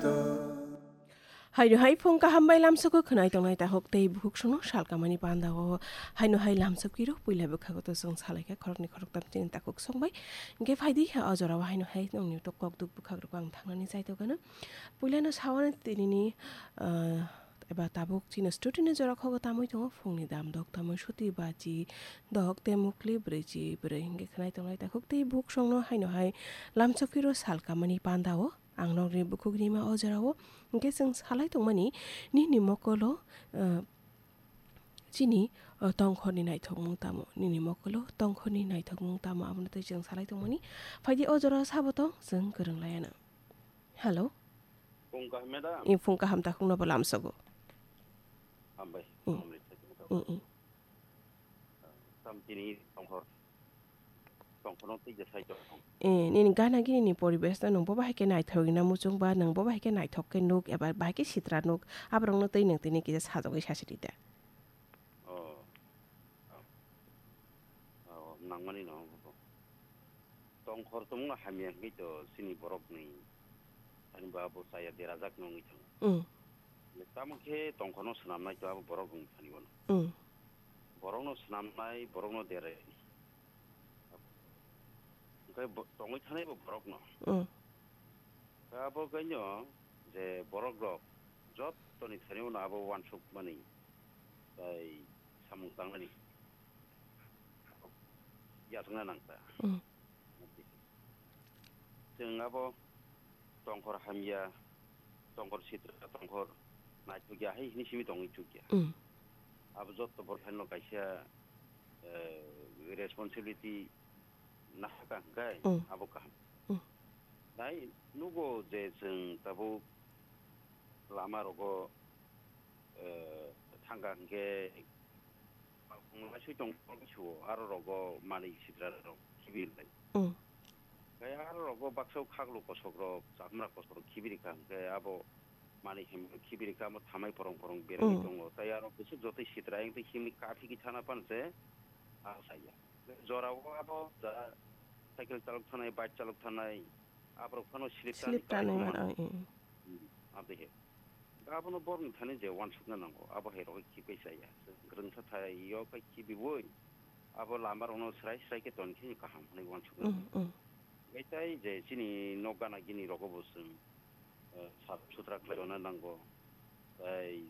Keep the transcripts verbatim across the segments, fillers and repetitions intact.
Haino hai phung kaham bai lamsoko khwnai tongnai takhuk tei bukhuk songno salkamani pandao. Haino hai lamsok kiro puila bwkhago to chwng salaikha khoroknwi khoroktam chini takhuk songbai. Hwnkhe phaidi o jorao haino hai nongni to kokduk bwkhakrok ang thangnani chaitokgano. Puilano sawani tinini, ah, eba tabuk chini studio ni jora khogo tamwi tongo phungni dam dok tamwi suti bachi dok tei mukli brwichi brwi hwnkhe khwnai tongnai takhuk tei bukhuk songno haino hai lamsok kiro salkamani pandao. Ang nokni bukhuk rima o jorao hwnkhe chwng salai tongmani nini mokolo, ah, chini, ah, tongkhorni naithokmung tamo, nini mokolo tongkhorni naithokmung tamo abono tei chwng salai tongmani. Phaidi o jorao sabo tong chwng kwrwng laiano. Hello. Phung kaham, madam. I phung kaham takhukno bo lamsogo. Hambai. Mm. Hambai. Mm, mm. Tam tini tongkhor. Tongkhorno tei je sai tong. Eh, nini gana gini ni poribesh no nung bo bahai khe naithok na muchung ba nung bo bahai khe naithok khe nuk eba bahai khe sitra nuk aborok no tei nung tini kisa sajagwi sasi rida. Oh. Oh, nangmani no. Tongkhor tongmungno hamya hwnkhe to chini borokni thani bo abo chaya derajak no wngwi thango. Mm. Tamo khe tongkhorno swnamnai to abo borok wngwi thani bono. Mm. Borokno swnamnai, borokno derai. Hwnkhe bo-, tongwi thanai bo borokno. Mm. Abo kaino je borok rok jottoni thani bono abo uansukmani tei samung tangnani yachakna nang ta. Mm. Chwng abo tongkhor hamya, tongkhor sitra, tongkhor naithokya hai hini simi tongwi chukya. Mm. Abo jotto borok haino kaisa, eh, responsibility nahaka hwnkhe Mm. abo kaham. Mm. Nai nugo je chwng tabuk lama rogo, eh, thangkha hwnkhe Laisui tong suo, aro rogo manwi sitra rok khibi lai. Mm. Khe aro rogo baksa khaglu kosok rok, chakmra kosok rok khibi rikha, hwnkhe abo manwi hem khibi rikha, amo thamai porong porong berwi Mm. tongo. Tai aro bwswk jotoi sitra, ayang tei himni kathi ki thana pan se, ah, saya. Jorao abo da cycle chalok thanai, bike chalok thanai, aborok phano slip Slip tanwi tanwi kaisa man, man. Ai, ai, ai. Hmm, abo he. Abono borokni thani je uansukna nango, abo hai rok khibai chaya. Kwrwngsa thaio kai khibiwi, abo lama rokno srai srai khe toni khe kaham hwnwi uansukna Mm, nango. Mm. Bai tai je chini nok gana gini rogo bo chwng, eh, sap sutra khlai rwna nango. Tai,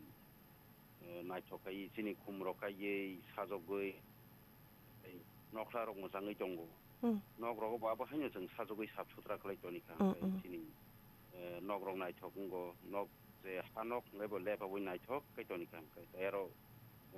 eh, naithok khai chini khum rok kaiwi sajogwi, Tei nokla rok mwchangwi tongo. Hmm. Nok rogo bo abo haino chwng sajagwi sap sutra khlai toni kha, Hmm, hwnkhe hmm. Chini, eh, nok rok naithok wngo, nok je ha nok hwnkhe bo lepabwi naithok khe toni kha, hwnkhe tei aro